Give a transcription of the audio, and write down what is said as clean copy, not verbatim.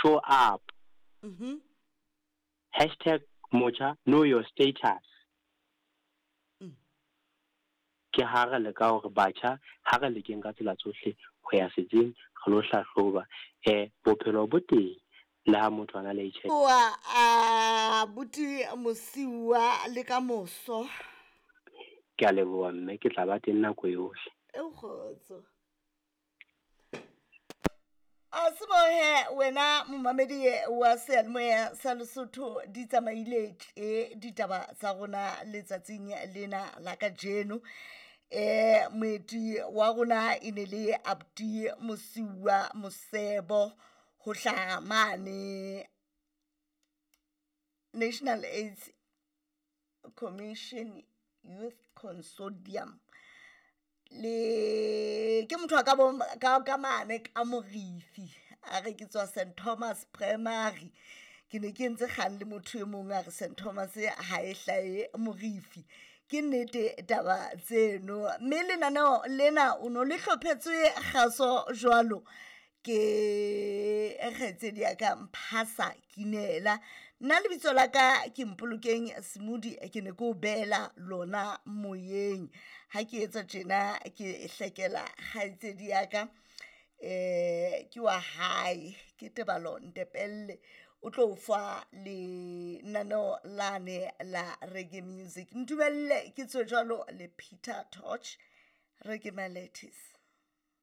Show up. Hashtag motjha know your status. Ke ha re leka hore batjha ha re lekeng ka tsela tsohle ho ya setsing re lo hlahloba. Bophelo bo teng le ha motho a na le HIV. Oa abuti Mosiuwa le ka moso. Ke a leboha mme, ke tla ba teng nako yohle. E kgotso. A se bohe wena momamedi wa seyalemoya sa Lesotho di tsamaile tje ditaba tsa rona letsatsing lena la kajeno. Moeti wa rona e ne le abuti Mosiuwa Mosebo ho hlaha mane National AIDS Commission Youth Consortium. Le ke motho a ka bo ka mane ka Morifi a re ke tswa St Thomas Primary. Ke ne ke entse kgang le motho e mong a re St Thomas ha e hlahe Morifi. Ke nnete taba tseno, mme lenaneo lena o no le hlophetswe kgaso jwalo ke kgaitsedi ya ka Mphasa Kinela. Nna lebitso la ka ke Mpolokeng Semudi, ke ne ke o beela lona moyeng. Ha ke etsa tjena ke hlekela kgaitsedi ya ka, ke wa hae ke Tebalo Ntepelle, o tlo fa lenaneo lane la reggae music. Ntumelle ke tswe jwalo le Peter Tosh, Reggae Melodies.